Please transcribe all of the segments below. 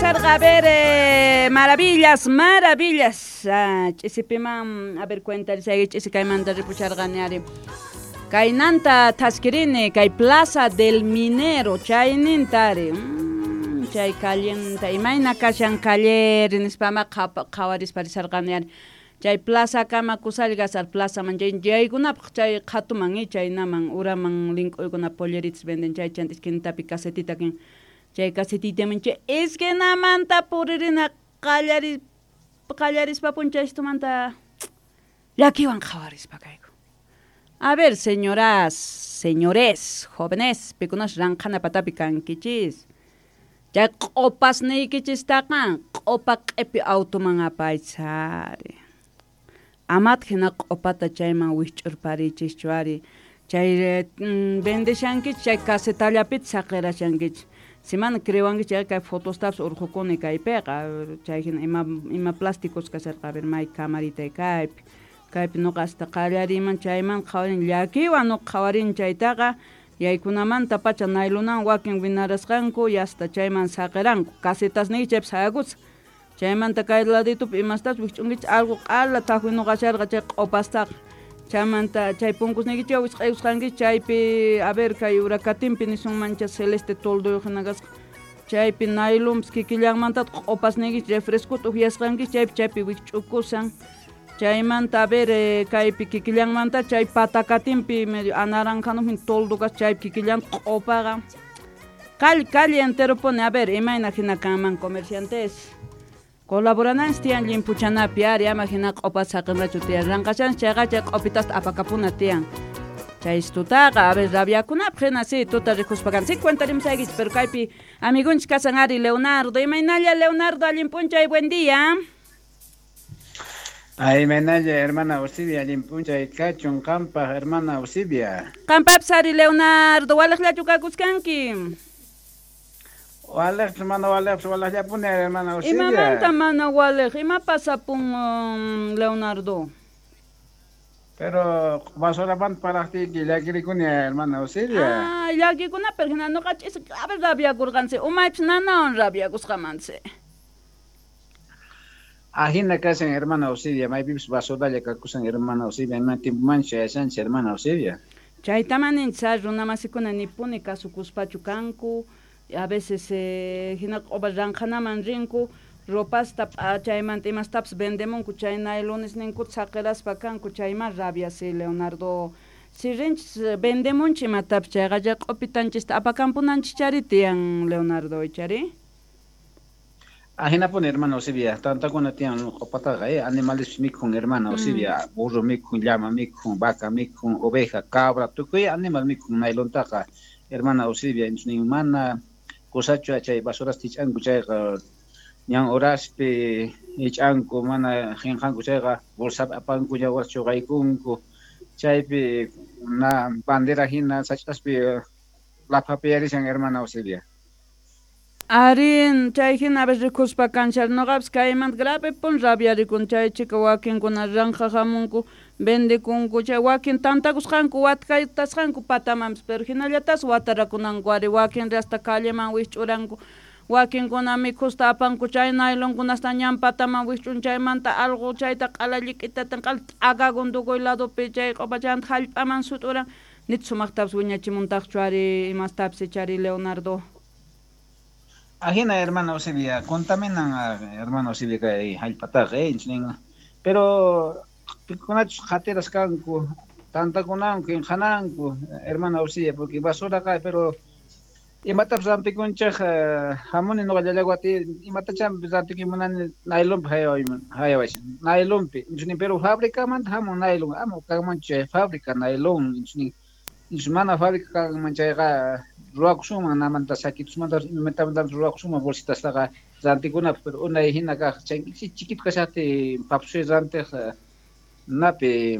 A ver, maravillas, maravillas. Ch'isipiman, a ver, cuentarisayki ch'isi kaymanta ripucharqani ari. Kaynanta thaskirini kay Plaza del Minero chayninta ari. Chay callenta imayna kashan calleri nispama qhawarispa risarqani ari. Chay plaza kama kusallgas al plazaman chay yaykunapaq chay qhatuman chaynaman uraman link'uykuna polleritas venden chay chanta esquinitapi casetita kin. Chay casetitaman chay esquinamanta puririna qallarispa punchaytumanta llakiwan qhawarispa kayku. A ver, señoras, señores, jóvenes, pikunas ranqhana patapi kankichis. Chay q'opasniykichistaqa q'opa q'ipi automan apaychari. Amat hina q'opata chayman wikch'urparichischu ari. Chay vendeshankichis chay casetallapita saqirashankichis. Si mana crewankichis chay kay fotostapas urqhukuni kaypiqa. Chay hina ima plásticos kasharqa, a ver, may camarita kaypi. Kaypi nuqa hasta qallariyman chayman qhawarin llakiwan nuqa qhawarin chaytaqa yaykunamanta pacha naylunan wakin winarasqanku y hasta chayman saqiranku. Casetasniyki chaypi sayakusqa. Chaymanta kay laditupi imastapas wikch'unkichis algo q'ala thaqwi nuqa sharqa chay q'opastaqa. Chaymanta chay punkusniykichis wisq'aykusqankichis chaypi, a ver, kay urakatinpi nisunmancha celeste tolduyuq hina kasqa. Chaypi naylunpis kikillanmantataq q'opasniykichis refrescota ukyasqankichis chaypi chaypi wikch'ukusan. Chaymanta, a ver, kaypi kikillanmanta chay patakatinpi medio anaranjanujmi toldo kasqa chaypi kikillanta q'opaqa. Calle, calle entero pone, a ver, imayna hina kanman comerciantes. Colaborananchis tiyan llimpuchanapi ari ama hina q'opata saqinrachu tiyan. Ranqashanchis chayqa chay q'opitasta apakapuna tiyan. Chay tutaqa, a ver, rabiakunapaq hina si tuta rikuspa kan. Si cuentarimusaykichis, pero kaypi amigunchis kasan ari Leonardo. Imaynalla Leonardo, allin p'unchay, buen día. Ay, imaynalla, hermana Eusebia, allin p'unchay kachun qampaq, hermana Eusebia. Qampapis ari Leonardo, waliqllachu kakuskanki? Waliqpis mana waliqpis waliqllapuni hermana Eusebia. Imamanta mana waliq? Ima pasapun, Leonardo? Pero basuramanta parlaqtiyki llakirikuni hermana Eusebia. Ah, llakikuna, pero hina nuqa ch'isi grave rabiakurqansi, umaypis nanawan rabiakusqamansi. Ajina kashan hermana Eusebia, maypipis basuralla kakusan hermana Eusebia, ima tiempomanchu yachanchis hermana Eusebia. Chaytaman ninchis runamasikuna nipuni kasukuspachu kanku, a veces hina q'upa ranqhanaman rinku, ropasta chaymanta imastapis vendemunku chay naylones ninkuta saqiraspa kanku, chayman rabia si Leonardo. Si rinchis vendemunchis imatapis chayqa chay q'upitanchista apakampunanchis chari tiyan Leonardo, ichari? Ajinapuni hermana Eusebia, tantakuna tiyan q'upataqa, animales mikhun hermana Eusebia, burro mikhun, llama mikhun, vaca mikhun, oveja, cabra, tukuy animal mikhun naylontaqa hermana Eusebia, nin mana kusachu chay basurasta hich'anku chayqa ñan horaspi hich'anku, mana qinqanku chayqa bolsapi apanku ña horas chuqaykunku, chaypi na bandera hina sach'aspi laphapiyarishan hermana Eusebia. Arin, chay hina a veces rikuspa kanchar nuqapis kaymanta grave pun rabiarikun chay chika wakinkuna ranqa hamunku vendekunku chay wakin tantakusqanku watkaytasqanku patamanpis, pero hinallatas watarakunanku ari wakin hasta calleman wikch'uranku, wakinkuna mikhusta apanku chay naylonkunasta ñan pataman wikch'un chaymanta alqu chayta q'ala llik'itatan q'ala t'akakun tukuy ladopi chay q'upachanta hallp'aman sut'uran, nit sumaqtapis wiñachimuntaqchu ari imastapis ichari Leonardo. Ajina hermana Eusebia, contaminan hermana Eusebia kay hallp'ataqa, pero pikunachus qhatiras kanku, tantakunanku, inqhananku, hermana Eusebia, porque basuraqa, pero imatapis rantikunchej hamuni nuqa llallawati, imatachá rantikuy naylonpi hayawashan, naylonpi, pero fabricamanta hamun naylon, ama kanmanchu chay fábrica naylon, mana fábrica kanman chayqa ruwakusunman namanta saquitusmanta imatamanta ruwakusunman bolsitastaqa rantikunapaq, pero unay hina kaq chay chiquito kashaqti papsuy rantiq napi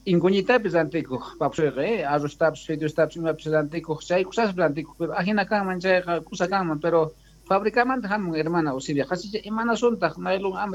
inkuñitapis rantikuq papsuyqa, arroztapis fideostapis imapis rantikuq, chay kusaspi rantikuq, pero ajina kanman chayqa kusa kanman, pero fabricamanta hamun hermana Eusebia, qhasicha imanasuntaq naylon ama